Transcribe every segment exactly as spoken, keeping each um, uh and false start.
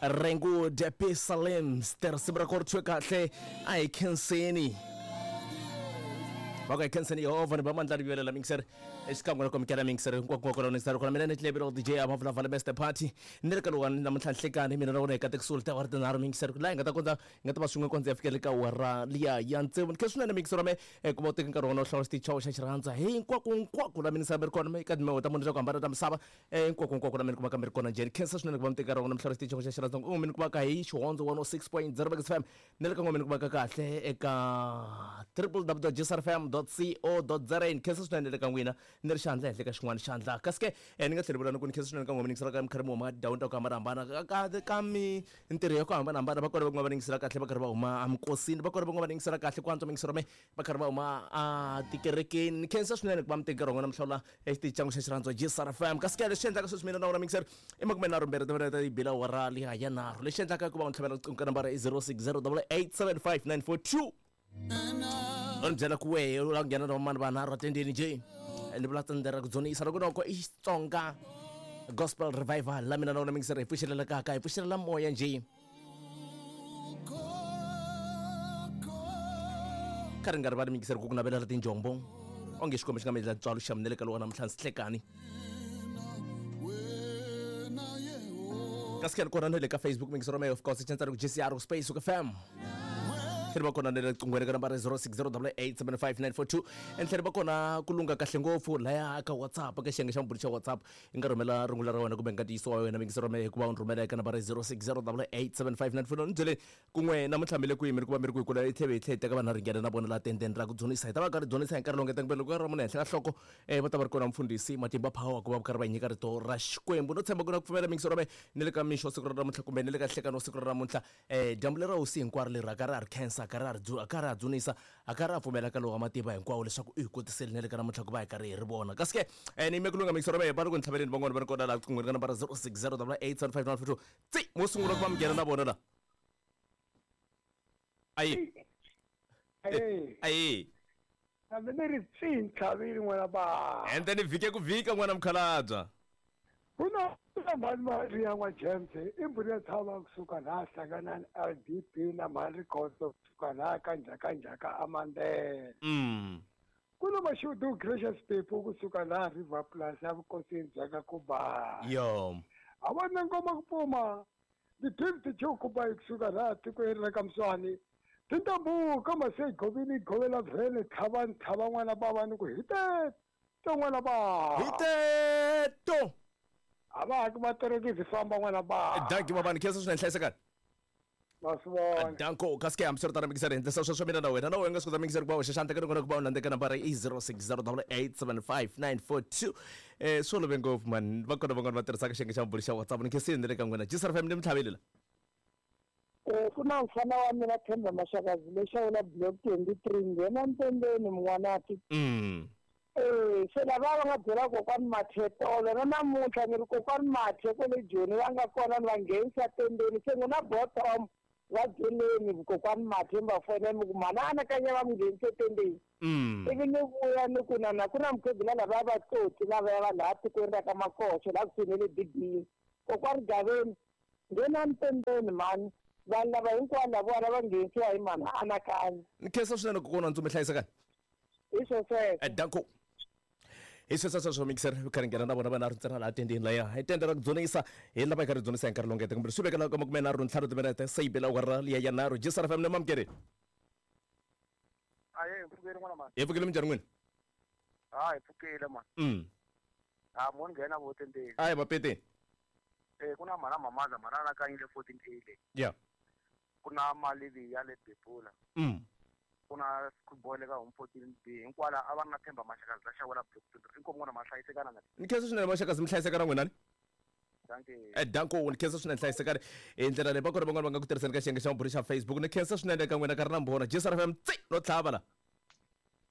Rengu Depi Salems risimu ra kona ri thyiwe kahle a hi khenseni va ku hi khenseni Yehovha ni ba mandla ri vuyelela mixer exikan'we na komikela mixer hinkwako kona mixer kona mina ni tlebelo D J a vulavula best party ni ri ka lowani namuntlha nhlekani mina na wena hi katekisiwile ta awara tinharhu mixer laha hi nga ta kota hi nga ta va swin'we kondza ya fikela ka awara liya ya tsevu ni khe swinene mixer wa me ku va u teka nkarhi wa wena u hlawula xitichi xa xirhandza hinkwako hinkwako la minisa mi ri kona eka timheho ta munhu ta ku hambana ta misava hinkwako hinkwako la mi ni kumaka mi ri kona njhani khensa swinene ku va mi teka nkarhi wa wena mi hlawula xitichi xa xirhandza u mi ni kumaka hi Xihondzo one oh six point zero F M ni le ka n'we mi ni kumaka kahle eka triple w dot g s r f m dot co dot za ni khensa swinene le ka n'wina ni ri xandla henhla ka xin'wana xandla kasi ke ni nga tlhela vula ni ku ni khensa swinene ka n'we mi ningisela ka mi karhi mi huma tindhawini ta ku hambanahambana ka ka mintirho ya ku hambanahambana va kona van'wana va ningisela kahle va karhi va huma amikosini va kona van'wana va ningisela kahle ku antswa mingiselo me va karhi va huma a tikerekeni ni khensa swinene ku va mi teka nkarhi wa n'wina mi hlawula exitichi xa xirhandzo G S R F M kasi ke lexi endlaka sweswi mina na wena mingiselo i makume nharhu mbirhi timinete yi bila awara liya ya nharhu lexi endlaka ku va u ni tlhavela riqingho ka nambara i zero six zero double eight seven five nine four two u ni byela ku wehe u lava ku nghena na vamani vanharhu atendeni njhe ni vula tende ra ku dzunisa loko noko i Xitsonga gospel revival la mina na wena mingiselo hi pfuxelela kaka hi pfuxelela moya njhe ka ri nga rivali mingiselo ku ku navelela tinjombo onge xikombe xi nga mi endla ntswalo xa minele ka lowa namuntlha ndzi hlekani kasi ke kona na le ka Facebook mingiselo me of course chantsana ku G C R space ku F M tlhela va kona na le riqinghweni ka nambara zero six zero double eight seven five nine four two and tlhela va kona ku lungha kahle ngopfu laya ka WhatsApp ka xiyenge xa mabulu xa WhatsApp i nga rhumela rungula ra wena kumbe nga ntiyiso wa wena mingiselo me hikuva u ni rhumela eka nambara zero six zero double eight seven five nine four two ni byele kun'we namuntlha mi le kwihi mi ri ku va mi ri kwihi kula hi tlhela hi tlhela hi teka vanhu ringena na vona laha tendeni ra ku dzunisa hi ta va karhi dzunisa hi nkarhi lowu nga kumbe loko ra munhu henhla ka nhloko um va ta va ri kona mfundhisi Matimba Power ku va karhi va nyika rito ra Xikwembu no tshemba ku na ku pfumela mingiselo me ni le ka mixo siku ra namuntlha kumbe ni le ka nhlekani wa siku ra namuntlha um dyambu lera hosi hinkwaro leri a ka ra ha ri khensa a ka ra ha ka ra ha dzunisa a ka ra ha pfumela ka lowu wa matimba hinkwawo leswaku u hi kotiseli na le ka namuntlha ku va hi karhi hi ri vona kasi ke um ni yime ku lungha mingiselo me va ri ku ni tlhaveleni van'wana va ri kona laha riqinghweni ka nambara zero six zero double eight seven five nine four two tsi mo sungula ku va mi nghena na vona la ayi ayi hambi ni ri tsi ntlhavile n'wana ba ende ni vhike ku vhika n'wana mukhalabya ku na mhani mali ya n'wa James i mbhuri ya tshama kusuka laha hlangana na L D P na mhani Rikhotso kusuka laha ka njhaka njhaka Amandela mm ku na Mashudu Gracious Pepo kusuka laha River Plus ya vukosini bya ka Kuba yo a vona ngoma ku pfuma the fifty two kuba kusuka laha tikweni ra ka Mswani tintambu ka mase govini govela vhele tlhava ntlhava n'wana bava ni ku hiteto n'wana ba hiteto a va haki vaterekisi famba n'wana ba danki babani khensa swinene hlayisekani masivona danko kasi ke hambiswiritano mingiselo hi endlisa sweswo mina na wena na wena nga swi kota mingiselo ku va u xaxandla ka rikona ku va u landzeka nambara i zero six zero double eight seven five nine four two um swi olove ngopfu mani va kona van'wana va tirhisaka xiyenge xa mabulu xa WhatsApp ni khensini ni le ka n'wina G S R F M ni mitlhaveli la ku na mfana wa mina Themba Mashakazi lexawula block twenty-three nghena ntendeni n'wanati mm eh se lava va nga byela kokwani Mathe tolo na namuntlha ni ri kokwani Mathe kwale Joni va nga kona ni va nghenisa tendeni se n'wina bottom va byeleni kokwani Mathe mi va fonela mi ku mhana anakanya va mi nghenise tendeni mm ivi ni vuya ni ku na na ku na mukhegula lava va tsotsi lavaya va laha tikweni ra ka Makoxo laha kusuhi na le B B kokwani Gaveni nghena ntendeni mhani vanhu lava hinkwavo lavona va nghenisiwa hi mhana anakanya ni khensa swinene kokwana Ntsumi hlayisekani hi swo sweswo danko hi sweswo sweswo mixer karhi nghena na vona vanharhu ntsena laha tendeni laya hi tende ra ku dzunisa hi lava hi karhi dzunisa hi nkarhi lowu ngete kumbe swi vekela ka makume nharhu ntlhanu timinete se yi bela awara liya ya nharhu G S R F M ni mamukeri aye hi pfukile n'wana mani hi pfukile minjhani n'wina ha hi pfukile mani mm ha mo ni nghena vo tendeni ayi mapete eh ku na mhana mamaza mhana anakanyile fourteen A le ya ku na malivi ya le Bebula mm ku na schoolboy le ka home fourteen B hinkwala a va ri na Themba Mashakazi la xawela block twenty inkomu n'wana ma hlayisekana na ni khensa swinene Mashakazi mi hlayisekana n'wina ni danke danko ni khensa swinene hlayisekani hi ndlela leyi va kona van'wana va nga ku tirhiseni ka xiyenge xa mabulu xa Facebook ni khensa swinene ka n'wina ka ri na mbhona G S R F M tsi no tlhava la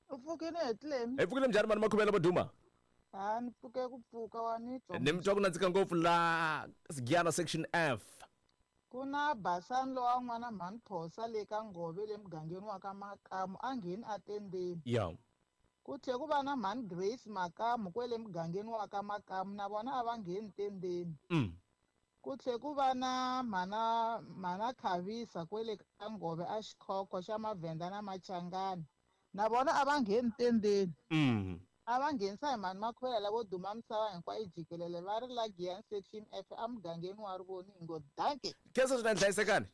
u pfukile hetleni hi pfukile minjhani mani makhuvela vo duma ha ni pfuke ku pfuka wa ni twa ni mi twa ku nandzika ngopfu la Sigiana section F ku na Basani lowa n'wana mhani Phosa le ka Ngove le mugangeni wa ka Makamu a ngheni atendeni ya ku tlhe ku va na mhani Grace Makamu kwele mugangeni wa ka Makamu na vona a va ngheni tendeni mm Ku tlhe ku va na mhana mhana Khavisa kwele ka Ngove a Xikhokho xa Mavhenda na Machangani. Na vona a va ngheni tendeni. Mm. A va nghenisa hi mhani Makhuvela lavo duma misava hinkwayo jikelele va ri la Giyani section F emugangeni wa Rivoningo. Dankie. Khensa swinene hlayisekani.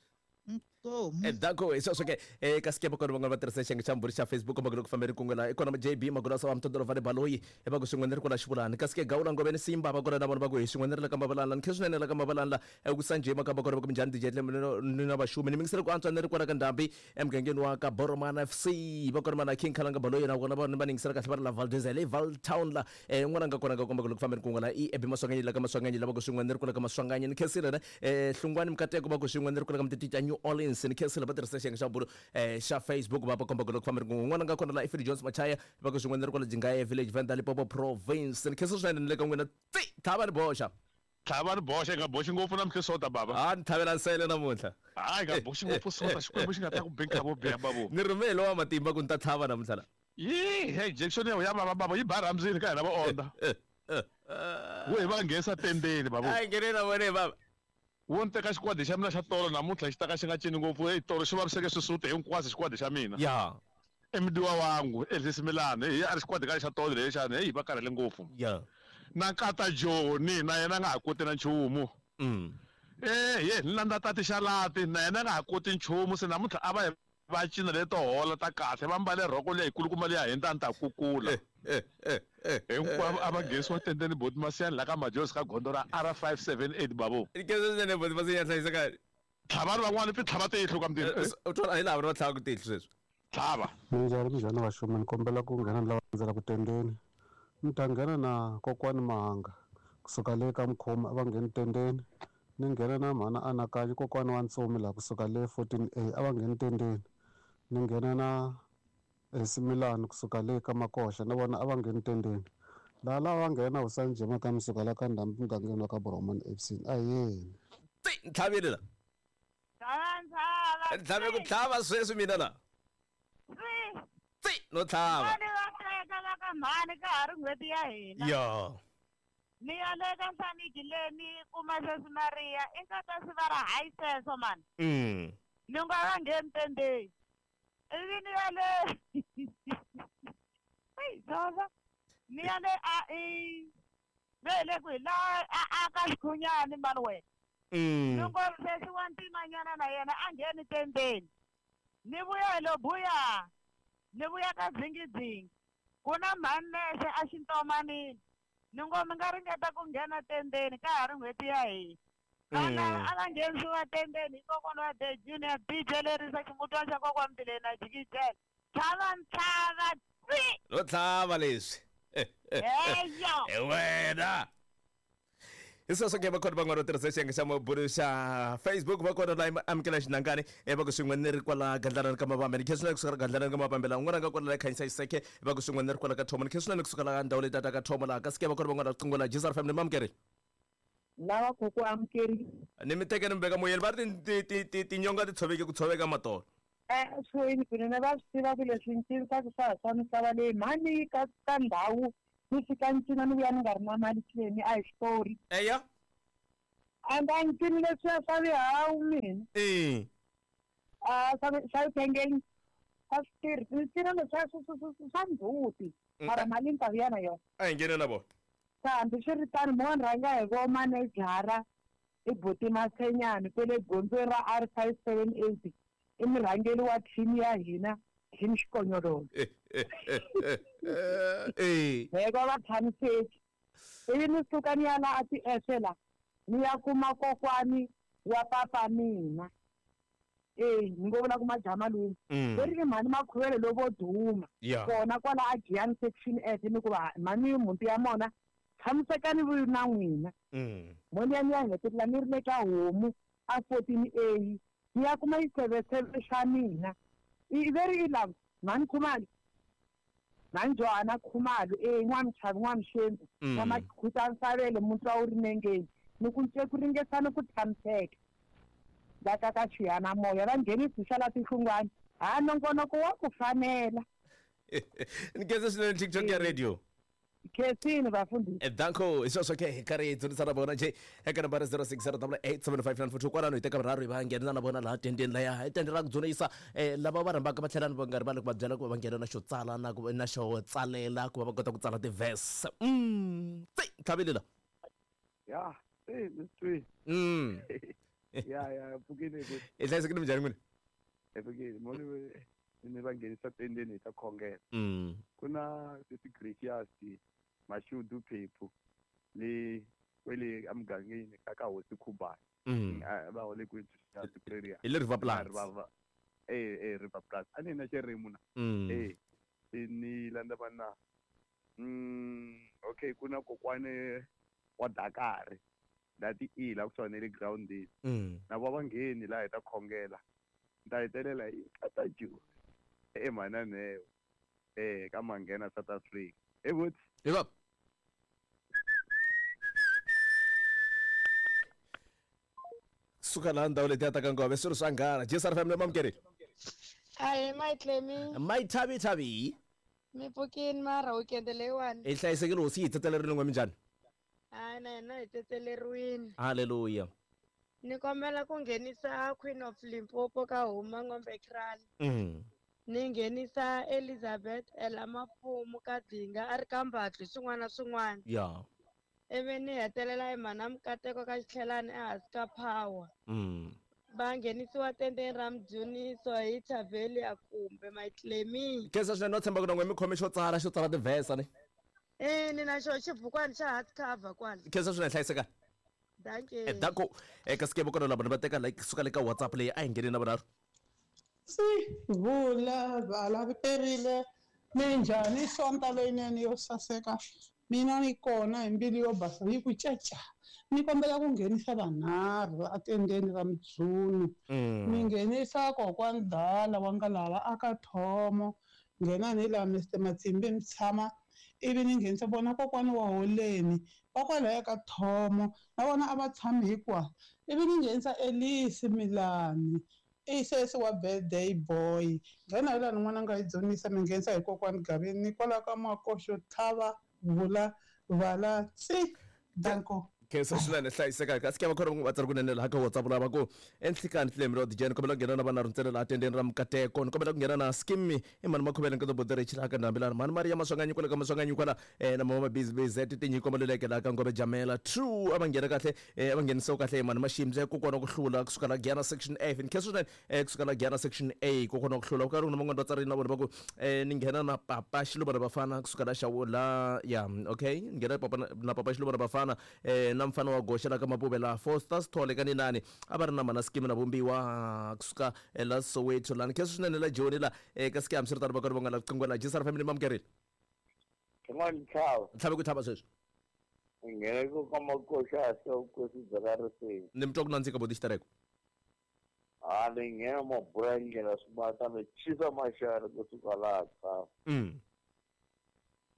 Inkomu. Endzhaku hi sweswo ke eka sikepe kona van'wana va tirhisa xiyenge xa mbhuri xa Facebook kumbe loko fambeni kun'we la i kona J B Magulasa wa Mtondoro va le Baloyi e va ku swin'we ni ri kwala Xivulani kasi ke Gawula Ngoveni Simba va kona na vona va ku hi swin'we ni ri la ka Mavalani ni khe swinene la ka Mavalani la ku Sanjay Makamba kona va ku minjhani D J ni na vaxumi ni mingisele ku antswa ni ri kwala ka Ndhambi emugangeni wa ka Boromana F C va kona mana King Khalanga Baloyi na vona va ni yingisela kahle va ri la Valdez le Val Town la eh n'wana nga kona nga komba ku loko fambeni kun'we la i Ebi Maswanganyi la ka Maswanganyi la va ku swin'we ni ri kwala ka Maswanganyi ni khensile ne eh Hlungwani Mkateko va ku swin'we ni ri kwala ka Mtititi ya New Orleans ni khensile va tirhisa xiyenge xa bulo eh xa Facebook va va komba ku loko fambeni kun'we n'wana nga kona la Ifri Jones Machaya va ku swin'we ni ri kwala Jingaye Village Venda Limpopo Province ni khensile swinene ni le ka n'wina tsi tlhava ni boxa tlhava ni boxa nga boxi ngopfu namuntlha sota baba a ni tlhavela nsele namuntlha hayi nga boxi ngopfu sota xikwembu xi nga ta ku benka vo biha babo ni rhumele wa matimba ku ni ta tlhava namuntlha la yi hey injection ya ya baba baba yi ba ramzini ka hina va onda wo hi va nghesa tendeni babo a nghene na vone baba wo ni teka xikwadi xa mina xa tolo namuntlha xi ta ka xi nga cini ngopfu hey tolo xi vaviseke swisuti hinkwaswo xikwadi xa mina ya emdiwa wangu Elvis Milani hey a ri xikwadi ka xa tolo lexana hey va karhele ngopfu ya na nkata Joni na yena nga ha koti na nchumu mm eh ye ni landza tati xalati na yena nga ha koti nchumu se namuntlha a va va cina leto hola ta kahle va mbale rhoko leyi kulukumba leyi hindza ni ta kukula hinkwavo a va nghesiwa tendeni boti Masiyani la ka Majosi ka gondzo ra R five seven eight babo ni boti Masiyani hlayiseka tlhavani van'wani pi tlhava tihlo ka mutini u twala hi laha va tlhava ku tihlo sweswi tlhava minjhani minjhani vaxumi ni kombela ku nghena ni lava landzela ku tendeni ni ta nghena na kokwani Mahanga kusuka le ka Mkhoma a va ngheni tendeni ni nghena na mhana Anakanyi kokwani wa Ntsumi laha kusuka le fourteen A a va ngheni tendeni ni nghena na Similani kusuka le ka Makoxa na vona a va ngheni tendeni laha lava va nghena Hosani Jema ka Msuka la ka Ndhambi mugangeni wa ka Boromani F C a yeni tsi ntlhavile la ntlhave ku tlhava sweswi mina la tsi no tlhava mhani ka ha ri n'hweti ya hina ya ni ya le ka Nhlaniki le ni kuma sweswi Maria i nkata swi va ra hayi sweswo mani mm ni nga va ngheni tendeni ivi ni ya le eyi dzoza ni ya le a i ve le kwihi la a a ka Xikhunyani mani wena mm ni ngo sweswi wa ntimanyana na yena a ngheni tendeni ni vuya hi lo buya ni vuya ka dzingidzingi ku na mhani nexe a xintomanini ni ngo mi nga ringeta ku nghena tendeni ka ha ri n'hweti ya hina vana a va nghenisiwa tendeni hi kokwana wa The Junior D J lerisa ximutwana xa kokwani Mbileni na jikijela tlhava ntlhava tsi ro tlhava leswi heyo hi wena hi sweswo ke va kona van'wana va tirhisa xiyenge xa mabulu xa Facebook va kona la amukela xinangani e va ku swin'we ni ri kwala Gandlana ka Mavambe ni khe swinene kusuka Gandlana ka Mavambe la un'wana nga kona la Khanyisa Xiseke va ku swin'we ni ri kwala ka Thomo ni khe swinene kusuka la ndhawu leyi tata ka Thomo laha kasi ke va kona van'wana riqingho la G S R F M ni mamukeri lava ku ku amukeri ni mi teke ni mi veka moyeni va ri tinyonga ti tshoveke ku tshoveka matolo esweni kunene va swi tiva ku leswi ncinisaka swa ha swa misava leyi mhani ka ka ndhawu ni fika ni cina ni vuya ni nga ri na mali tleni a hi xitori eya and a ni cini leswiya swa vihawu mina e a swa swa vithengeni a swi tirhi ni cina leswiya swa ndzhuti mara mali ni ta vuya na yona a hi nghene na vona sa hambi swi ri tano mo ni rhanga hi vo manejara i buti Masenyani kwele gondzweni ra R five seven eight i murhangeri wa team ya hina team Xikonyololo eh heko va tshamiseki ivi ni suka ni ya la a ti-ese la ni ya kuma kokwani wa papa mina e ni ngo vula ku majamalume leri i mhani Makhuvele lovo duma kona kwala a Giyani section S ni ku va mhani mhunti ya mona tshamisekani vuyi na n'wina mo ni ya ni ya hetelela ni ri le ka homu a fourteen A ni ya kuma xitsevetseve xa mina i veri i lava mhani Khumalo mhani Johanna Khumalo e n'wamchavi n'wamxembu na Makhuta Nsavele muntwa wu ri nengeni ni ku nce ku ringesana ku tshamiseka la ka ka xiyanimoya va nghenisi xa la tihlungwana ha nongonoko wa ku fanela ni khensa swinene TikTok ya radio Khensini vafundhisi. Danko, hi sweswo ke hi karhi hi dzunisa na vona nje eka nambara zero six zero double eight seven five nine four two kwalano hi teka vunharhu hi va nghena na vona laha tendeni laya hi tende ra ku dzunisa eh, lava va rhambaka va tlhela va nga rivali ku va byela ku va va nghena na xo tsala na ku na xo tsalela ku va va kota ku tsala ti-verse. Mm, tsi tlhavile la. Ya, eh, Mister Mm. Ya, ya, pfukile ku. I hlayisekile minjhani n'wina? E pfukile, mo ni ni va nghenisa tendeni hi ta khongela. Mm. Ku na sesi Gracious Mashudu Phephu le kwele emugangeni ka ka Hosi Khubani. Mm. Va hole ku Pretoria. Hi le River Plants. River eh eh River Plants. A ni na xirimu na. Mm. Eh ni landza va na. Mm, okay, ku na kokwane wa Dakar. Lati i la kusuhani na le groundini. Mm. Na va va ngheni laha hi ta khongela. Ni ta hetelela hi kata Joni. E Mananeo. Eh ka Manghena South Africa. E buti. Hi va. Suka laha ndhawu letiya ta ka Ngove swilo swa nghana. J S R F M le mamukeri. Ahee Mayitlemi. Mayithavithavi. Mi pfukini mara weekend leyiwani. Hi hlayisekile hosi yi hi tsetelerile n'we minjhani? Hayi na hina hi tsetseleriwile. Hallelujah. Ni kombela ku nghenisa Queen of Limpopo ka Huma Ngombe Kraal. Mm. Ni nghenisa Elizabeth Ella Mafumu ka Dinga a ri ka Mbatlu swin'wana na swin'wana. Ya. Ivi ni hetelela hi mhana Mukateko ka Xitlhelani ehansi ka Power. Mm. Va nghenisiwa tendeni ra Mudzuniso hi Thavelia kumbe Mayitlemi. Khensa swinene no tshemba ku na n'we mi khome xo tsala xo tsala ti-verse ni. Eh ni na xo xibukwana xa hard cover kwala. Khensa swinene hlayisekani. Dankie. Eh danko eka sikebo kona lava va teka like suka le ka WhatsApp leyi a hi ngheni na vunharhu. Si vula vala perile minjhani sonta leyinene yo saseka mina ni kona hi mbilu yo basa yi ku caca ni kombela ku nghenisa vanharhu atendeni ra Mudzunu. Ni nghenisa kokwani Dala wa nga lava aka Thomo nghena ni la Mister Matsimbi Mtshama ivi ni nghenisa vona kokwani wa Holeni va kwalaya ka Thomo na vona a va tshami hinkwawo ivi ni nghenisa Elisi Milani i sesi wa birthday boy nghena hi laha n'wana nga yi dzunisa mi nghenisa hi kokwani Gavini ni kwalaho ka Makoxo tlhava vula vala tsi danko. Khensa swinene hlayiseka kasi ke va khona va tsari kunene laha ka WhatsApp lava ku enhlikani tlemi ro dijeni kombela ku nghena na vanharhu ntsena laha tendeni ra Mukateko ni kombela ku nghena na Skimmy i mhani Makhuvele nkoto Boderich laha ka Ndhambi laha mhani Maria Maswanganyi kwale ka Maswanganyi kwala eh na mama Busy B Z tinyiko maluleke laha ka Ngove Jamela True a va nghena kahle eh a va nghenisiwa kahle hi mhani Maximbe ku kona ku hlula kusuka la Giyana section F ni khensa swinene eh kusuka la Giyana section A ku kona ku hlula ku karhi ku na van'wani va tsarini na vona va ku eh ni nghena na Papa Xiluva na Bafana kusuka la Xawula ya okay ni nghena papa na Papa Xiluva na Bafana eh na mfana wa goxa la ka Mapuve la Foster Sithole ka Ninani a va ri na mhana Skimi na Vumbiwa kusuka la Soweto lani khensa swinene la Joni la eka Skimi hambiswiritano va karhi va nga la riqingho la J S R Family mamukerile. Xin'wana tlhava. Tlhave ku tlhava sweswi. Nghena ku ka Makoxa se vukosi bya ka Riseni. Ni mi twa ku nandzika boti xitereko. Ha ni nghena mabula ndlela swibata ni chisa maxana kusuka laha tlhava. Mm.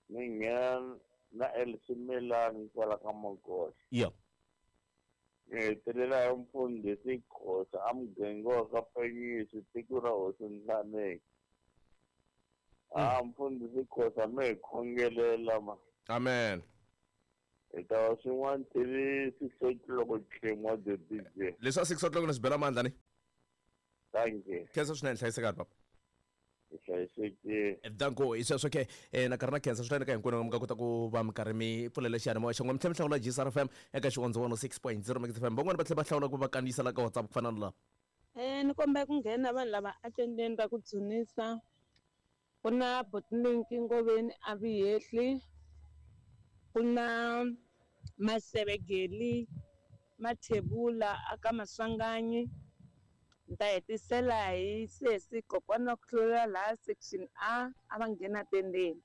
Ni nghena na Elsie Milani kwala ka Makoxa. Yeah. Ni hetelela hi mfundhisi Khosa a muganga wa ka Penyisi tiko ra Hosi Nhlaneki. A mfundhisi Khosa mi hi khongelela ma. Amen. Hi ta va swin'wana till six o'clock tlhemu the D J. Leswi six o'clock ni swi bela mandla ni. Thank you. Khensa swinene hlayisekani papa. Hlayisekile. Danko hi sweswo ke eh na karhi na khensa swinene ka hinkwenu mi nga kota ku va mi karhi mi pfulela xiyanimoya xa n'wina mi tlhela mi hlawula G S R F M eka xivondzo one oh six point zero Mix F M van'wani va tlhela va hlawula ku va kandziyisa la ka WhatsApp ku fana na laha. Eh ni kombela ku nghena vanhu lava atendeni ra ku dzunisa ku na Botlinki Ngoveni a Vihehli ku na Masevegeli Mathebula aka Maswanganyi ni ta hetisela hi sesi kokwana wa ku hlula laha section A a va nghena tendeni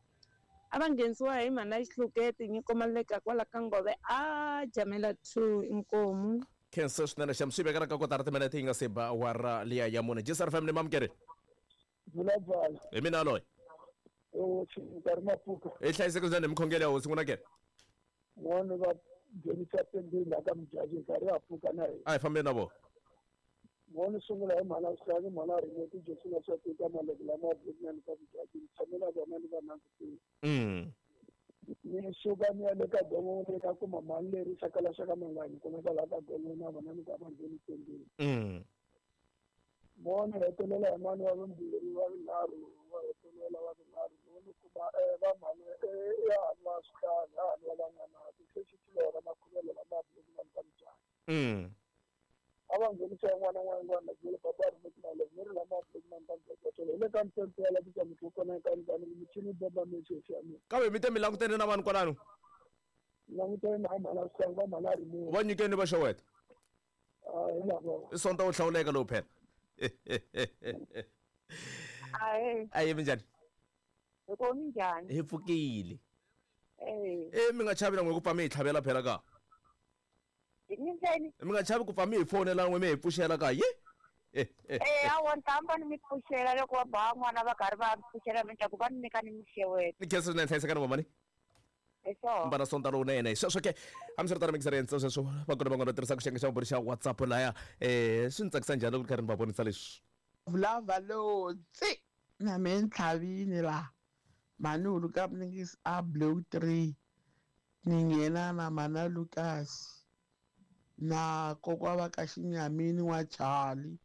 a va nghenisiwa hi mhana Xihluketi nyiko Maleka kwala ka Ngove a Jamela two inkomu. Khensa swinene xa swi vekela ka kotara timinete yi nga se ba awara liya ya mune J S R F M ni mamukeri. Vula Hi mina loyi. O nkarhi mapfuka. I hlayiseke swinene mikhongelo ya hosi n'wina ke. N'wana va nghenisa tendeni laha ka Mujaji nkarhi wa pfuka na hina. A hi fambeni na vona. N'wana sungula hi mhana Sihlangu mhana Rineti Jesu na swa tika maleke lama Botnani ka Mujaji ni tshame na vona ni va langutile. Mm. Ni suka ni ya le ka gongongo ni ka kuma mali leri xaka xaka mangani kumeka laha ka gongongo na vona ni ku a va ngheni tendeni. Mm. Vona hetelela hi mani wa vumbirhi wa vunharhu wa hetelela wa vunharhu ni kuma va mhani ya hani wa swihlahla ya hani wa van'wanati se xi xilora makhuvelo lama bulukimani ta mujani. Mm. A va nghenisa yin'wana na yin'wana byele papa ri mali ni ri lama bulukimani ta mujani hi le ka mpfempfe ya la ku tsamisa kona ka ndani michini bomba mexexi ya mina. Kambe mi te mi langutene na vanhu kwalano? Langutene na mhana swihlahla va mhana ri munhu. Va nyikeni va xeweta? A hi lava. I sonta wo hlawuleka lowu phela. Ahe. Aye minjhani? Hi ko minjhani? Hi pfukile. Eh. Eh mi nga chavi na n'we ku pfa mi hi tlhavela phela ka. Minjhani? Mi nga chavi ku pfa mi hi fonela n'we mi hi pfuxela ka ye? Eh awa ni ta hamba ni mi pfuxela loko va ba n'wana va karhi va pfuxela mi ta ku va ni nyika ni mixeweta. Ni khensa swinene hlayisekani mamani. Mbana sonta lowunene sweswo ke hambiswiritano mi ngiseri sweswo va kona van'wana va tirhisaka xiyenge xa vumbirhi xa WhatsApp laya um swi ni tsakisa njhani loko ni karhi ni va vonisa leswi. Vulava lotsi na me ni tlhavini laha mhani huluka mningisi a blue three ni nghena na mana Lucas na kokwa va ka Xinyamini wa Charlie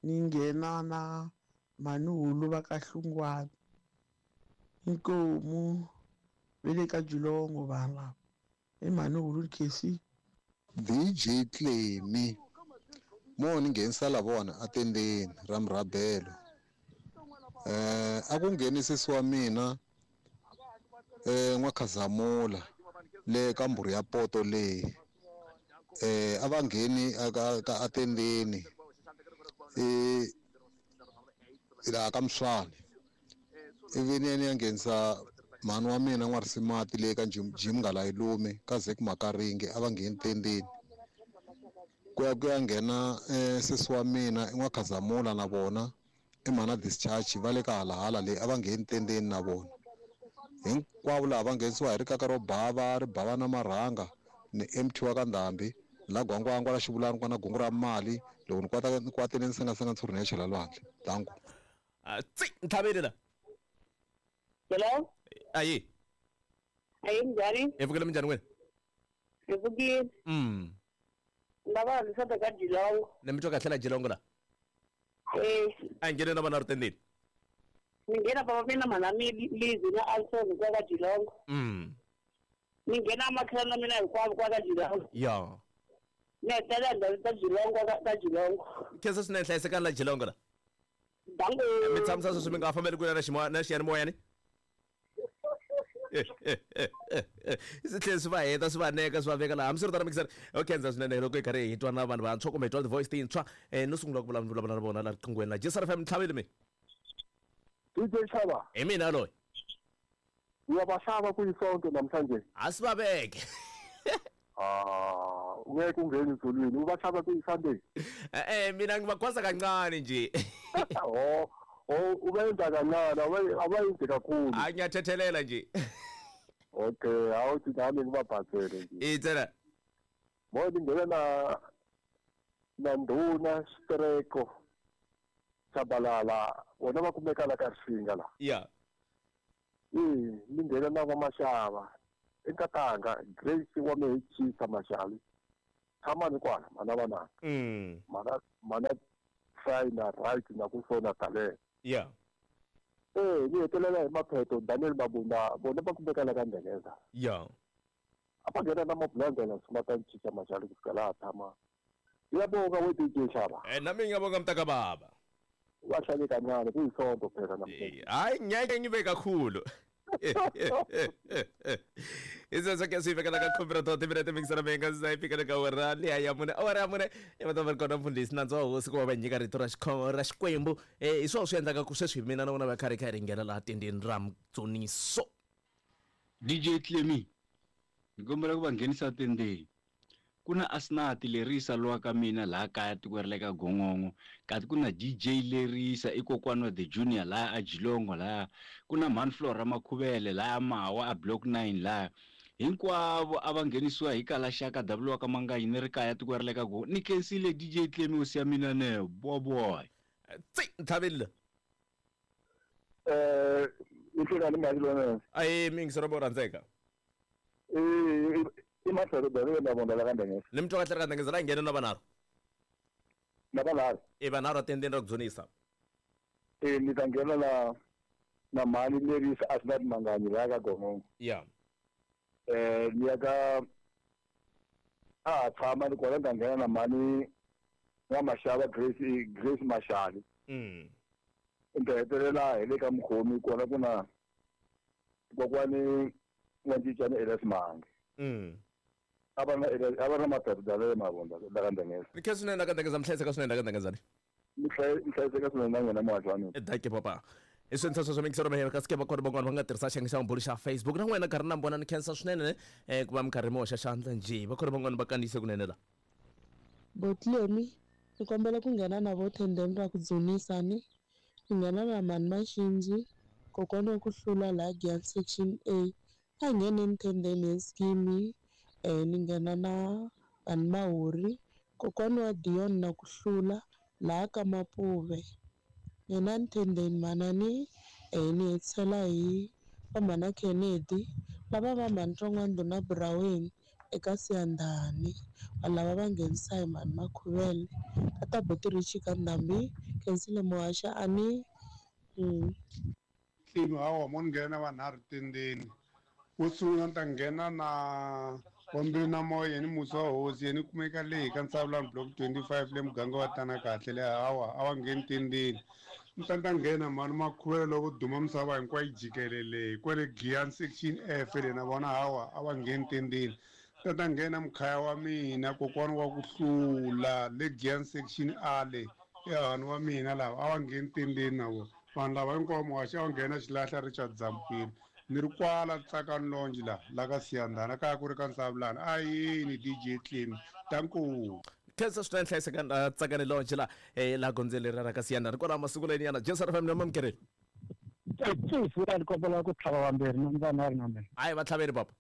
ni nghena na mhani hulu va ka Hlungwana inkomu ve le ka Julongo vanhu lava i mhani hulu Khesi. D J Clemy mo ni nghenisa la vona atendeni ra murhabelo eh a ku nghenisisi wa mina eh n'wakhazamula le ka mburu ya poto leyi eh a va ngheni aka ka atendeni eh la ka Mswani ivi ni ya nghenisa mhani wa mina n'warisimati le ka Jim Ngalayilume ka Zek Makaringe a va ngheni tendeni ku ya ku ya nghena eh sesi wa mina n'wakhazamula na vona i mhana discharge va le ka halahala leyi a va ngheni tendeni na vona hinkwavo laha va nghenisiwa hi rikaka ro bava ri bava na marhanga ni M T wa ka Ndhambi la gwangwangwa la xivulani kwana gungu ra mali loko ni kwata ni kwatile ni sengasenga ntshuri ni ya chela lwandle danku. Tsi ntlhaveli la. Hello? Ayi. Ayi minjhani? Hi pfukile minjhani wena? Hi pfukile. Mm. Lava rhandza ka Jilongo. Ni mi twa kahle la Jilongo la? Eh. A nghene na vana ri tendeni. Ni nghena baba mina mhana mi Lizi na Alson kwa ka Jilongo. Mm. Ni nghena makhelana mina hinkwavo kwa ka Jilongo. Ya. Ni hetelela ndhawu ta Jilongo ka Jilongo. Khensa swinene hlayisekani la Jilongo la. Dango. Mi tshamisa sweswi mi nga fambeli kule na ximoya na xiyanimoyani? Swi tlhela swi va heta swi va neka swi va veka laha hambiswiritano mixer okay ndza swinene loko hi karhi hi twa na vanhu vantshwa kumbe hi twa ti-voice tintshwa um no sungula ku vulavula na vona la riqinghweni la J S R F M ntlhaveli mi. D J Xava. Hi mina loyi. Uyabahlaba kuyisonto namhlanje. Asibabeke. Ah, ungeke ungene ezulwini ubahlaba kuyiSunday. Eh eh mina ngibakhwasa kancane nje. Oh. Oh ubenza kancane abayenzi kakhulu. Hayi ngiyathethelela nje. Okay, awuthi nami ngibabhathele nje. Itsela. Mo ngena na na nduna Streko Tshabalala wona va kumeka la ka Risinga la. Yeah. Eh, ni nghena na va Mashava enkatanga Grace wa Mehechisa Mashali. Tshama ni kwala mana vana. Mm. Mana mana try na right na ku sona talent. Yeah. Eh, ni hetelela hi mapheto Daniel Mabunda vona va kumeka la ka Ndengeza. Yeah. A va nghena na mabulandela swi ta cinca Mashali ku fika laha tshama. Ngiyabonga we D J Xava. Eh nami ngiyabonga mntaka baba. Wahlale kancane kuyisonto phela namhlanje. Hayi ngeke ngibe kakhulu. Isese ke sifika la ka computer timirete mixera menga sizayifika ka awara liya ya mune awara ya mune i va ta va ri kona mfundhisi nandzu wa hosi ku va va nyika rito ra ra Xikwembu eh hi swona swi endlaka ku sweswi mina na vona va karhi kha ri nghena laha tendeni ra Mtsoniso. D J Clemy ni kombela ku va nghenisa tendeni. Ku na Asnati Lerisa lowa ka mina laha kaya tikweni ra le ka Gongongo kasi ku na D J Lerisa i kokwana wa the junior laha a Jilongo laha ku na Mhani Flora Makhuvele laha Mawa a block nine laha hinkwavo a va nghenisiwa hi kala xaka W wa ka Manganyi ni ri kaya tikweni ra le ka Gongongo. Ni khensile D J Clemy hosi ya mina ne boboy. Tsi ntlhaveli eh I hlekani mali lona. Ayi mingisero bo rhandzeka. Eh i mahlelo dalo na vona la ka Ndengeza. Ni mtwa kahle ka Ndengeza la nghena na vanharhu. Na vanharhu. E vanharhu atendeni ra ku dzunisa. Eh ni ta nghena na na mali leri Asnat Manganyi la ka Gongongo. Yeah. Eh ni ya ka a tshama ni kona ta nghena na mali wa Mashava Grace Grace Mashali. Mm. Ni hetelela hi le ka mukhomi kona ku na kokwani wa Ncincana Elias Mange. Mm. A va na a va na maphepha dalo mavonda la ka Ndengeza. Ni khensa swinene la ka Ndengeza mihlayiseka swinene la ka Ndengeza. Mi hlayiseka swinene na n'wina muhaxi wa mina. Dankie papa. I swintsha sweswo mingisero mahelo kasi ke va kona van'wana va nga tirhisa xiyenge xa mabulu xa Facebook na n'wina karhi na vona ni khensa swinene eh ku va mi karhi mi hoxa xandla njhe va kona van'wana va kandziyise kunene la. Botlemi ni kombela ku nghena na vo tendeni ra ku dzunisa ni ni nghena na mani Maxinji kokwana wa ku hlula laha Giyani section A a ngheneni tendeni ya scheme eh ni nghena na vanhu Mahuri kokwana wa Dion na ku hlula laha ka Mapuve. Yena ntendeni manani eh ni hetisela hi vamhana Kennedy lava va mhani Ntshongwando na Buraweni eka Siyandhani vanhu lava va nghenisa hi mhani Makhuvele ka ta Botirichi ka Ndhambi Khensile Muhaxa a ni mm. Tlimi hawa mo ni nghena vanharhu tendeni wo sungula ni ta nghena na wambili na moya yeni musi wa hosi yeni kumeka leyi ka Ntsavulani block twenty-five le muganga wa tana kahle le hawa a va ngheni tendeni ni ta ta nghena mhani Makhuvele loko duma misava hinkwayo yi jikelele kwale Giyani section F le na vona hawa a va ngheni tendeni ta ta nghena mukhaya wa mina kokwana wa ku hlula le Giyani section A le ehani wa mina lava a va ngheni tendeni na vona vanhu lava hinkwavo muhaxi a va nghena xilahla Richard Zamkwini ni ri kwala Tsakani Longe la la ka Siyandhana kaya ku ri ka Ntsavulani a yini D J Tlemi danko. Khensa swinene hlayiseka Tsakani Longe la eh la gondzeni ra ka Siyandhana kwalaho masiku leni yana Jesu R F M na mamkereli. Tsifura ni kombela ku tlhava vambirhi na vanharhu na mina. Hayi va tlhaveni papa.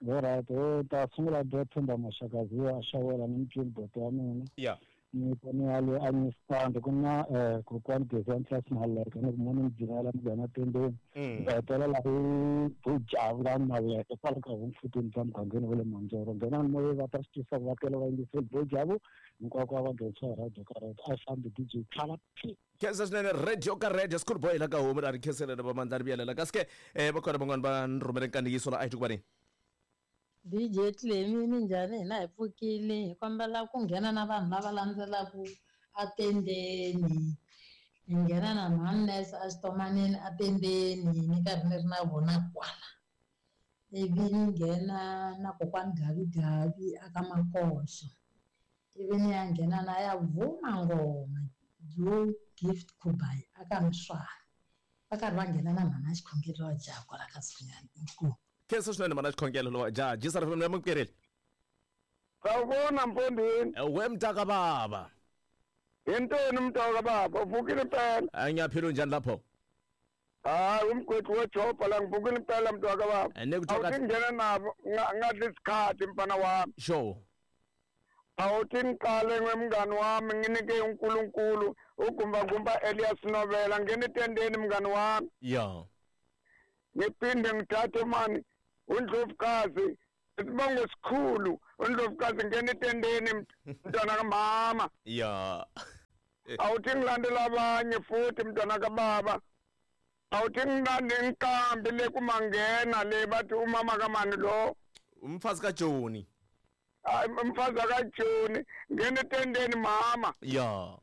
Alright, o ta sungula do Themba Mashakazi a xavela ni mutshini boto wa mina. Yeah. Ni ni ale a ni stand ku na eh kokwani Gezani Class Maleka ni ku mona mbyinela mugana tendeni. Hetelela hi Bujavula Maleka kwala ka Homfutini bya mugangeni wa le Manjoro nghena ni moya va ta swi tisa ku va tele va yingiseli Bujavu hinkwako a va nghenisa hi radio ka radio a fambi D J Tlhava P. Khensa swinene radio ka radio school boy la ka homu ra ri khenselele va mandla ri vuyelela kasi ke eh va kona van'wana va ni rhumele nkandziyiso la a hi twi ku va ni D J Tlemi minjhani hina hi pfukile hi kombela ku nghena na vanhu lava landzelaka atendeni hi nghena na mhani Nurse exitomanini atendeni ni karhi ni ri na vona kwala ivi ni nghena na kokwani Gavi aka Makoxo ivi ni ya nghena na ya Vuma Ngoma Joe Gift Kubai aka Mswana va karhi va nghena na mhana Xikhongelo wa jaha kwala ka Sinyani inkomu. Khensa swinene mhana Xikhongelo lowa jaha Jesu R F M na mamkereli. Sawubona mfondini. We mntaka baba. Yintoni mntaka baba? Uvukile impela. Ngiyaphila unjani lapho? Hayi umgwethu wejobha la ngivukile impela mntaka baba. Awuthi ngena nabo ngadla isikhathi mfana wami. Sure. Awuthi ngiqale ngwemngani wami nginike uNkulunkulu ugumba gumba Elias Novela ngene etendeni mngani wami. Yeah. Ngiphinde ngithathe mani uNdlovukazi isibongo esikhulu uNdlovukazi ngene etendeni mntwana kamama. Yeah. Awuthi ngilandela abanye futhi mntwana kababa. Awuthi ngilande inkambi le kumangena le bathi umama kamani lo umfazi kaJoni. Hayi umfazi kaJoni ngene etendeni mama. Yeah.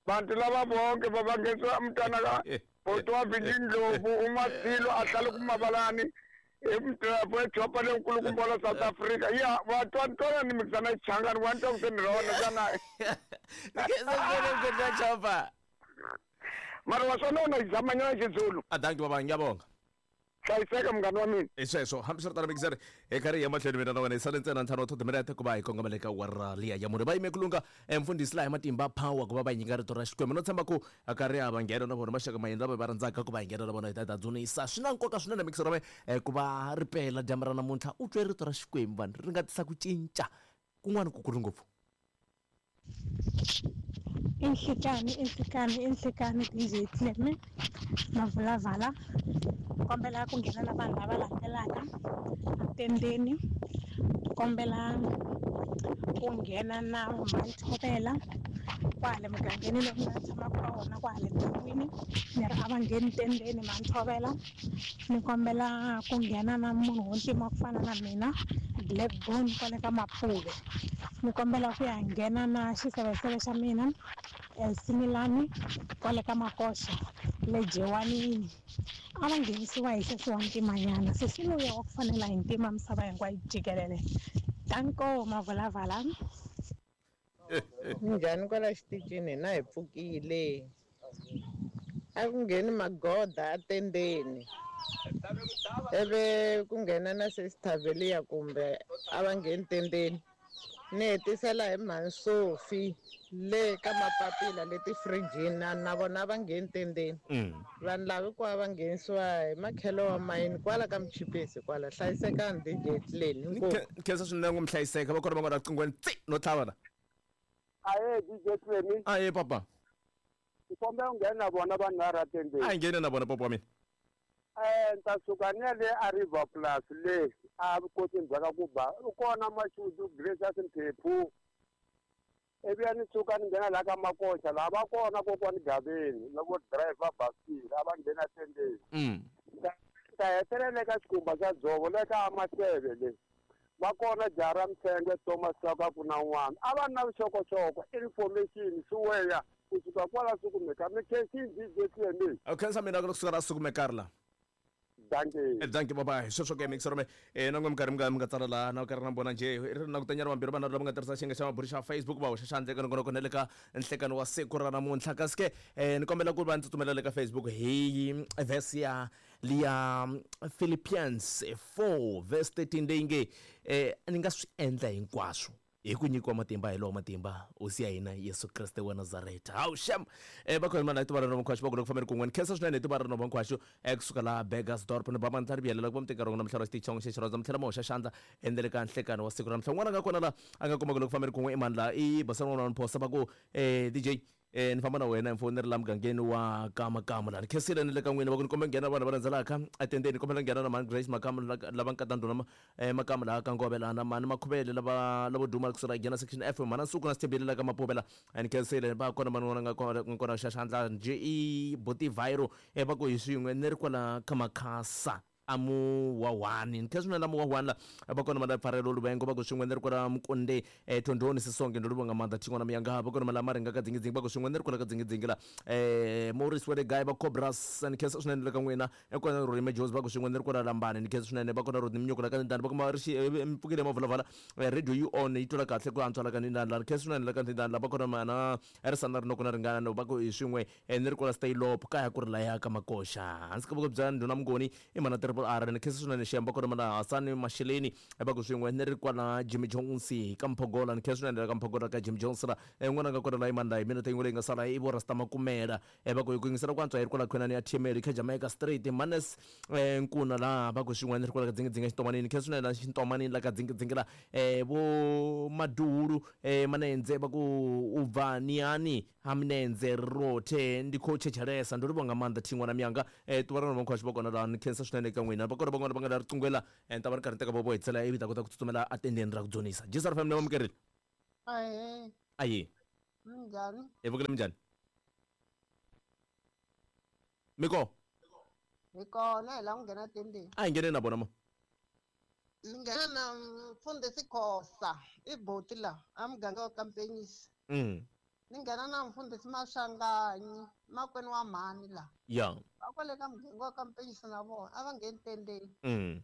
Bantu laba bonke babangeswa mntwana ka Botwa Vindlovu uMasilo ahlala kumabalani emdrapo ejopa lenkulukumbola South Africa. Yeah, watwa ni mixana ichangani wanta kusenirona kana. Ngeke chopa. Mara wasona izamanyana isiZulu. Ah dankie baba ngiyabonga. Hlayiseka mngani wa mina. I sweswo hambiswiritano mixer hi karhi ya mahlweni mina na wena hi sale ntsena ntlhanu wa timinete ku va hi kongomela ka wara liya ya munhu va yime ku lunga mfundhisi laha hi matimba power ku va va nyika rito ra Xikwembu no tshemba ku a karhi a va nghena na vona maxaka mayini lava va rhandzaka ku va hi nghena na vona hi ta ta dzunisa swi na nkoka swinene mixer wa mina ku va ri pela dyambu ra namuntlha u twe rito ra Xikwembu vanhu ri nga tisa ku cinca kun'wana ku kulu ngopfu. Inhlikani inhlikani inhlikani D J Clemi Mavulavala kombela ku nghena na vanhu lava landzelaka atendeni kombela ku nghena na Manthovela kwale mugangeni lowu nga tshamaka ka wona kwale ndyangwini ni ri a va ngheni tendeni Manthovela ni kombela ku nghena na munhu wo ntima ku fana na mina Blackbone kwale ka Mapuve ni kombela ku ya nghena na xiseveseve xa mina Similani kwale ka Makoxa le Jewanini a va nghenisiwa hi sesi wa ntimanyana sesi luya wa ku fanela hi ntima misava hinkwayo jikelele danko Mavulavala. Njhani kwala xitichini hina hi pfukile a ku ngheni magoda atendeni ivi ku nghena na sesi kumbe a va ngheni tendeni ni hetisela hi mhani Sophie le ka mapapila leti frijini na na vona va ngheni tendeni vanhu lava hinkwavo va nghenisiwa hi makhelo wa mayini kwala ka Mchipisi kwala hlayisekani D J Clemi inkomu khensa swinene ku mi hlayiseka va kona va nga ri qingweni tsi no tlhava la aye D J Clemi aye papa ni kombela ku nghena na vona vanhu va ratendeni a hi ngheni na vona papa wa mina eh ni ta suka ni ya le a River Plus le a vukosini bya ka ku ba u kona Mashudu Gracious Mphephu ivi ya ni suka ni nghena laha ka Makoxa laha va kona kokwani Gaveni loko driver basikili a va nghena tendeni ta hetelela eka xikhumba xa dzovo le ka Maseve le va kona Jara Mtshenge Thomas Saka ku na un'wana a va na vuxokoxoko information swi kusuka kwala sukumeka mi khensini D J Clemi a khensa mina ku suka la sukumeka ri la danke danke baba sweswo ke mixer me eh na ngom karhi mi nga mi nga tsala la na karhi na vona nje ri na ku tanyana vambirhi vana lava nga tirhisa xinga xa maburi xa Facebook va hoxa xandla eka nongonoko na le ka nhlekano wa siku ra namuntlha kasi ke eh ni kombela ku va ni tsutsumela le ka Facebook hi verse ya liya Philippians four verse thirteen leyi nge eh ni nga swi endla hinkwaswo hi ku nyikiwa matimba hi lowo matimba hosi ya hina Yesu Kriste wa Nazareta hawu shem eh va khona mana tiva ra nkhwaxo va ku loko fambeni kun'we ni khensa swinene tiva ra nkhwaxo eh kusuka la Burgersdorp ni baba ntlhari byelela ku va muteka rona mhlaro xitichongo xexi rhandza mtlhela mo hoxa xandla endele ka nhlekano wa siku ra mhla n'wana nga kona la a nga kuma ku loko fambeni kun'we i mani la i basana n'wana phosa va ku eh D J eh ni famba na wena mfoni ri la mugangeni wa Kamakama la ni khensile ni le ka n'wina va ku ni kombe nghena vanhu va landzelaka atendeni kombela nghena na mani Grace Makamu lava nkata ndhuna Makamu laha ka Ngove lana mani Makhuvele lava lavo duma kusuka nghena section F mana Nsuku na Sithembile la ka Mapuvela ni khensile va kona mani n'wana nga kona kona xa xandla nje i Boti Viro eh va ku hi swin'we ni ri kwala ka Makhasa amu wawani ni khensile na mu wawani la va kona mala pfarelo luvengo va ku swin'we ni ri kwala Mukonde eh Thondoni Sisonke ndo livonga maanḓa thingwana miyanga va kona mala maringa ka dzingidzingi va ku swin'we ni ri kwala ka dzingidzingi la eh Maurice Wede Guy va Cobras ni khensa swinene le ka n'wina ekona Rurime Jones va ku swin'we ni ri kwala Lambani ni khensa swinene va kona Rodney Mnyuku la ka Ndani va kuma ri xi mpfukile mavulavala radio you on yi twala kahle ku antswa la ka Ndani la ni khensa swinene la ka Ndani la va kona mana Erisana ri noko na ringana va ku hi swin'we ni ri kwala Staylop kaya ku ri laya ka Makoxa hansi ka voko bya ndhuna Mngoni i mana triple R ni khensa swinene xiyamba kona mana Hasani Masheleni va ku swin'we ni ri kwala Jimmy Jones ka Mphogola ni khensa swinene ka Mphogola ka Jimmy Jones la n'wana nga kona la imani la hi mina yin'we leyi nga sala i vo Rasta Makumela va ku hi ku yingisela ku antswa hi ri kwala khonani ya T M L ka Jamaica Street Manes Nkuna la va ku swin'we ni ri kwala ka dzingidzingi xintomanini ni khensa swinene la xintomanini la ka dzingidzingi la vo Maduhulu Manenze va ku u bva niani ha Minenze rothe ndi khou tshetshelesa ndo livhonga maanḓa thingwana miyanga ṱuvha ra nkhwaxo va kona la ni khensa swinene ka n'wina va kona van'wana va nga la riqingwela ni ta va ri karhi ni teka vovo hi tsela ivi ta kota ku tsutsumela atendeni ra ku dzonisa J S R F M ni amukerile Ahee. Aye Minjhani? Hi vukile minjhani miko Hi kona hi lava ku nghena tendeni. A hi nghene na vona ma Ni nghena na mfundhisi Khosa i boti la a muganga wa Kampenyisi. Mm. Ni nghena na mfundhisi Maswanganyi makwenu wa mhani la. Ya. Va kwale ka muganga wa Kampenyisi na vona a va ngheni tendeni. Mm.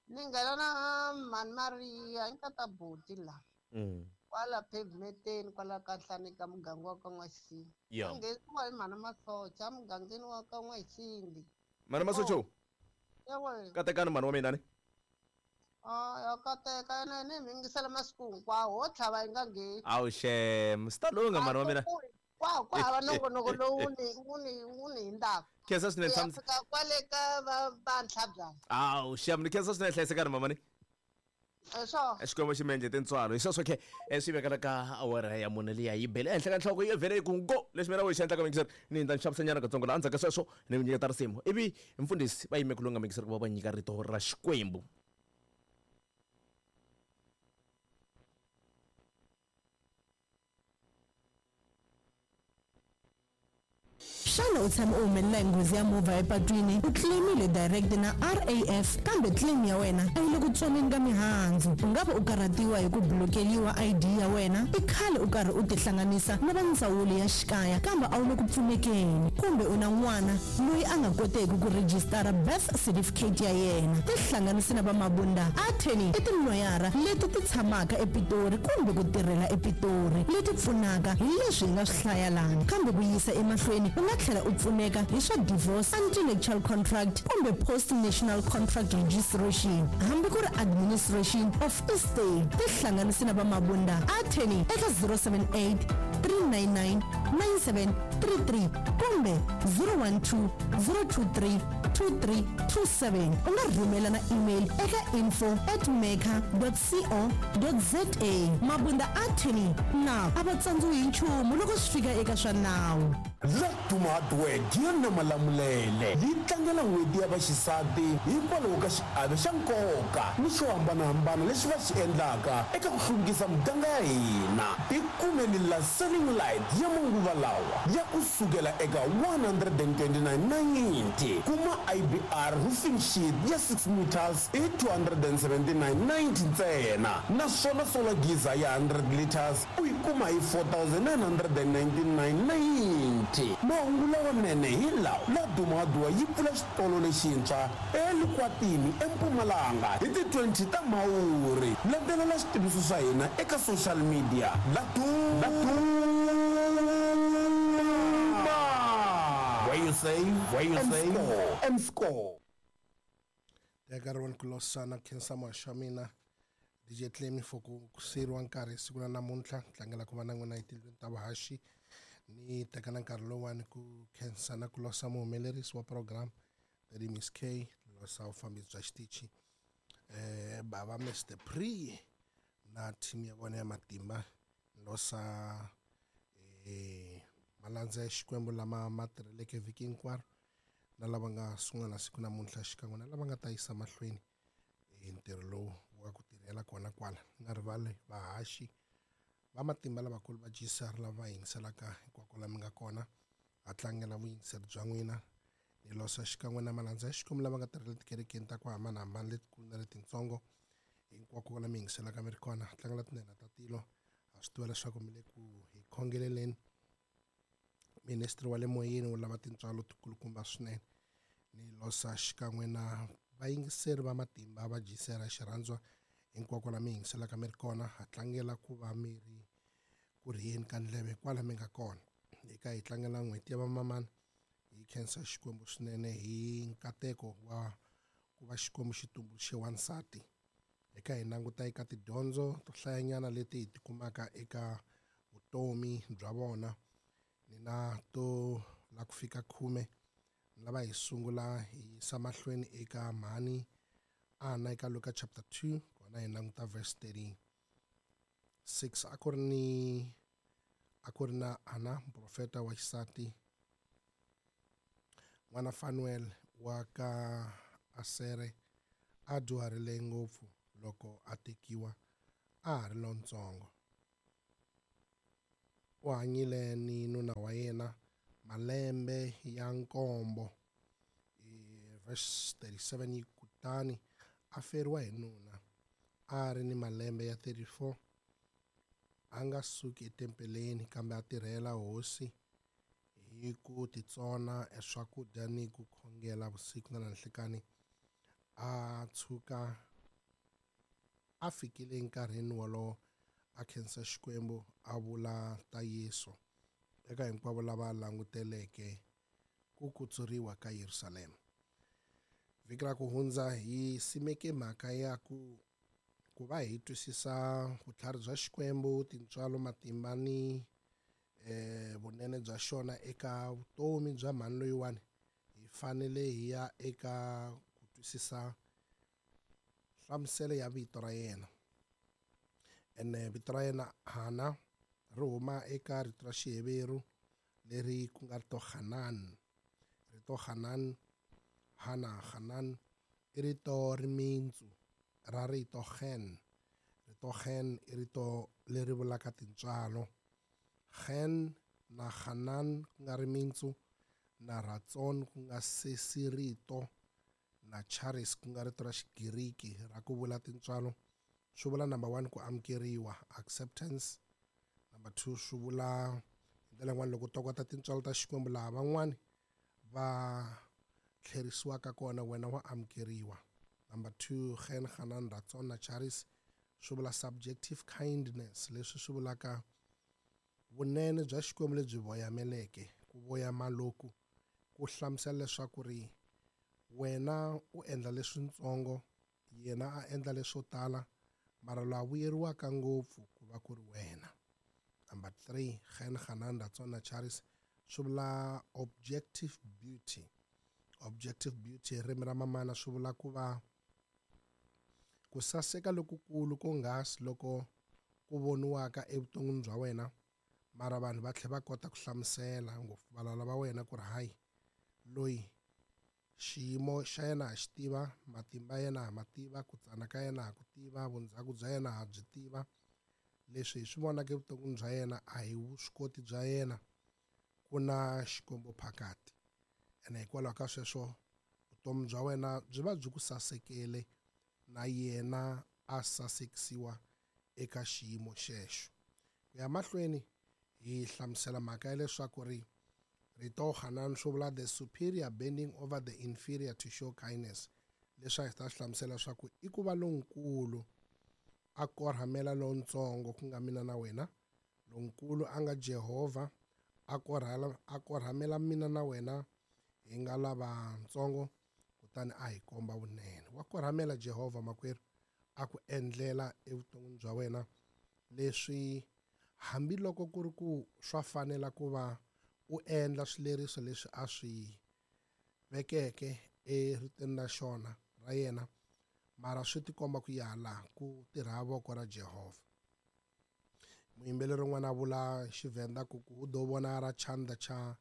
Ni nghena na mhani Maria i nkata boti la. Mm. Kwala pavementeni kwala ka nhlani ka muganga wa ka N'waxisini. Ya. Va nghenisiwa hi mhani Masocha emugangeni wa ka N'waxisini. Mhani Masocha? Yebo. Katekani mhani wa mina ni? Ah, ya kateka yena ni mi yingisela masiku hinkwawo ho tlhava yi nga ngheni. Awu xem, swi ta lungha mhani wa mina. Kwa ku hava nongonoko lowu ni wu ni wu ni hundzaka. Khensa swinene Ku ya tshama. fika kwale ka va va Ntlhabyana. Awu xem, ni khensa swinene hlayisekani mama ni. Eswo. Xikwembu xi mi endle tintswalo. Hi sweswo ke swi vekela ka awara ya mune liya yi bele ehenhla ka nhloko yi vhele yi ku ngo leswi mina vo xi endlaka mingiseri ni ta xavisanyana katsongo laha endzhaku ka sweswo ni mi nyiketa risimu ivi mfundhisi va yime ku lunga mingiseri ku va va nyika rito ra Xikwembu. Xana u tshame u humelela hi nghozi ya movha epatwini u claimile direct na R A F kambe claim ya wena a yi le ku tsoneni ka mihandzu u nga va u karhatiwa hi ku blokeliwa I D ya wena i khale u karhi u tihlanganisa na va ndzawulo ya xikaya kambe a wu le ku pfunekeni kumbe u na n'wana loyi a nga koteki ku rejistara birth certificate ya yena tihlanganisi na va Mabunda attorney i tiloyara leti ti tshamaka ePitori kumbe ku tirhela ePitori leti pfunaka hi leswi hi nga swi hlaya lana kambe ku yisa emahlweni u nga tlhela u pfuneka hi swa divorce, anti-nuptial contract kumbe post-national contract registration hambi ku ri administration of estate tihlanganisi na va Mabunda attorney eka zero seven eight three nine nine nine seven three three kumbe zero one two zero two three two three two seven u nga rhumela na email eka info at maker dot co dot za. Mabunda attorney na a va tsandziwi hi nchumu loko swi fika eka swa nawu. Laduma Hardware Gianna Malamulele yi tlangela n'hweti ya vaxisati hikwalaho ka xiave xa nkoka ni xo hambanahambana lexi va xi endlaka eka ku hluvukisa muganga ya hina. Tikumeni la selling light ya manguva lawa ya ku sukela eka one hundred and twenty-nine ninety kuma I B R roofing sheet ya six meters i two hundred and seventy-nine ninety ntsena naswona solar geyser ya hundred liters u yi kuma hi four thousand nine hundred and ninety-nine ninety. Mahungu lawanene hi lawa Laduma Hardware yi pfula xitolo lexintshwa eLikwatini eMpumalanga hi ti twenty ta Mhawuri. Landzelela switiviso swa hina eka social media Laduma where you save, where you save and score. Teka rin'wana ku losana khensa muhaxi wa mina D J Clemi for ku siyeriwa nkarhi siku ra namuntlha tlangela ku va na n'wina etindlwini ta vahaxi ni teka na nkarhi lowuwani ku khensa na ku losa muhumelerisi wa program Daddy Miss K losa vufambisi bya xitichi eh bava Mister Pre na team ya vona ya matimba losa eh malandza ya Xikwembu lama ma tirheleke vhiki hinkwaro na lava nga sungula na siku namuntlha xikan'we na lava nga ta yisa mahlweni ntirho lowu wa ku tirhela kona kwala nga rivali vahaxi va matimba lavakulu va G C R lava va yingiselaka hinkwako la mi nga kona ha tlangela vuyingiseri bya n'wina ni losa xikan'we na malandza ya Xikwembu lava nga tirhela tikerekeni ta ku hambanahambana letikulu na letintsongo hinkwako la mi yingiselaka mi ri kona ha tlangela tinhenha ta tilo ha swi tiva leswaku mi le ku hi khongeleleni ministry wa le moyeni wu lava tintswalo tikulukumba swinene ni losa xikan'we na vayingiseri va matimba va G C R xirhandzwa hinkwako la mi yingiselaka mi ri kona ha tlangela ku va mi ri ku rhiyeni ka ndleve kwala mi nga kona eka hi tlangela n'hweti ya vamamana hi khensa Xikwembu swinene hi nkateko wa ku va Xikwembu xi tumbuluxe wansati eka hi languta eka tidyondzo to hlayanyana leti hi tikumaka eka vutomi bya vona ni na to la ku fika khume lava hi sungula hi yisa mahlweni eka mhani Ana eka Luka chapter two kona hi languta verse thirty-six a ku ri ni a ku ri na Ana muprofeta wa xisati n'wana Fanuel wa ka Asere a dyuharile ngopfu loko a tekiwa a ha ri lontsongo u hanyile ni nuna wa yena malembe ya nkombo. Verse thirty-seven yi kutani a feriwa hi nuna a ri ni malembe ya thirty-four a nga suki etempeleni kambe a tirhela hosi hi ku titsona eswakudya ni ku khongela vusiku na nanhlikani a tshuka a fikile enkarhini wolowo a khensa Xikwembu a vula ta Yesu eka hinkwavo lava languteleke ku kutsuriwa ka Yerusalema. Vhiki ra ku hundza hi simeke mhaka ya ku ku va hi twisisa vutlhari bya Xikwembu tintswalo matimba ni eh vunene bya xona eka vutomi bya mhani loyiwani hi fanele hi ya eka ku twisisa nhlamuselo ya vito ra yena. Ene vito ra yena Hana ri huma eka rito ra Xiheveru leri ku nga rito Hanan. Rito Hanan, Hana, Hanan i rito rimintsu ra rito Hen. Rito Hen i rito leri vulaka tintswalo. Hen na Hanan ku nga rimintsu, na Ratson ku nga sesi rito, na Charis ku nga rito ra Xigiriki ra ku vula tintswalo. Swi vula number one ku amukeriwa, acceptance. Number two swi vula hi ndlela yin'wana loko u tokota tintswalo ta Xikwembu laha van'wani va tlherisiwaka kona wena wa amukeriwa. Number two, Hen, Hanan, Ratson na Charis swi vula subjective kindness, leswi swi vulaka vunene bya Xikwembu lebyi voyameleke. Ku voyama loku ku hlamusela leswaku ri wena u endla leswintsongo, yena a endla leswo tala, mara laha vuyeriwaka ngopfu ku va ku ri wena. Number three, Hen, Hanan, Ratson na Charis swi vula objective beauty. Objective beauty hi ririmi ra mamana swi vula ku va ku saseka lokukulu konghasi loko ku voniwaka evuton'wini bya wena, mara vanhu va tlhela va kota ku hlamusela ngopfu valala va wena ku ri hayi loyi xiyimo xa yena ha xi tiva, matimba yena ha ma tiva, ku tsana ka yena ha ku tiva, vundzhaku bya yena ha byi tiva. Leswi hi swi vonaka evuton'wini bya yena a hi vuswikoti bya yena, ku na Xikwembu phakati. Ene hikwalaho ka sweswo vutomi bya wena byi va byi ku sasekele na yena a sasekisiwa eka xiyimo xexo. Ku ya mahlweni hi hlamusela mhaka ya leswaku ri rito Hanan swi vula the superior bending over the inferior to show kindness. Leswi a hi ta swi hlamusela leswaku i ku va lonkulu a korhamela lontsongo ku nga mina na wena, lonkulu a nga Jehovha a korhala a korhamela mina na wena hi nga lavatsongo, kutani a hi komba vunene. Wa korhamela Jehovha makwerhu a ku endlela evuton'wini bya wena leswi hambiloko ku ri ku swa fanela ku va u endla swileriso leswi a swi vekeke eritweni ra xona ra yena, mara swi tikomba ku ya laha ku tirha voko ra Jehovha. Muyimbeleri un'wana a vula Xivenda ku ku u ḓo vona ra chanda cha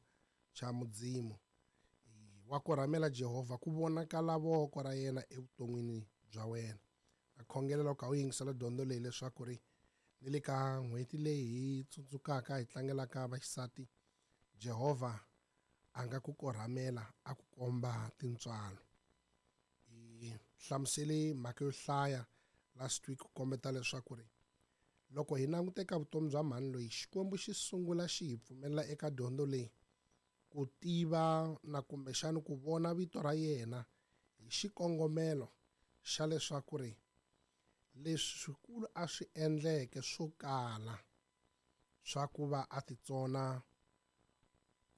cha Mudzimu. Wa korhamela Jehovha ku vonakala voko ra yena evuton'wini bya wena. A khongelela loko u yingisela dyondzo leyi leswaku ri ni le ka n'hweti leyi hi tsundzukaka hi tlangelaka vaxisati, Jehovha a nga ku korhamela a ku komba tintswalo. Hi hlamusele mhaka yo hlaya last week ku kombeta leswaku ri loko hi languta eka vutomi bya mhani loyi, Xikwembu xi sungula xi hi pfumelela eka dyondzo leyi ku tiva na kumbexana ku vona vito ra yena hi xikongomelo xa leswaku ri leswi swikulu a swi endleke swo kala swa ku va a titsona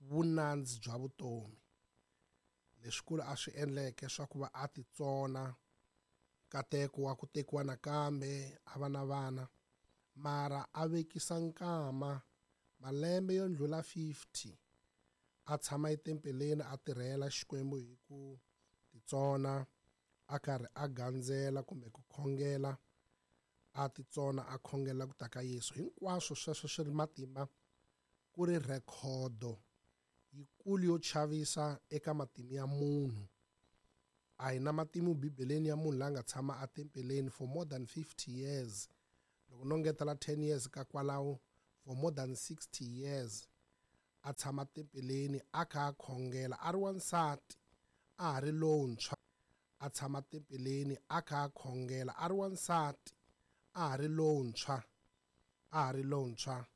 vunandzi bya vutomi, leswikulu a swi endleke swa ku va a titsona nkateko wa ku tekiwa nakambe a va na vana, mara a vekisa nkama malembe yo ndlula fifty a tshama etempeleni a tirhela Xikwembu hi ku titsona, a karhi a gandzela kumbe ku khongela, a titsona a khongela ku ta ka Yesu. Hinkwaswo sweswo swi ri matimba ku ri rhekhodo yikulu yo chavisa eka matimu ya munhu. A hi na matimu bibeleni ya munhu la nga tshama etempeleni for more than fifty years. Loko no ngetela ten years ka kwalaho, for more than sixty years a tshama tempeleni a kha a khongela a ri wansati a ha ri lontshwa, a tshama tempeleni a kha a khongela a ri wansati a ha ri lontshwa, a ha ri lontshwa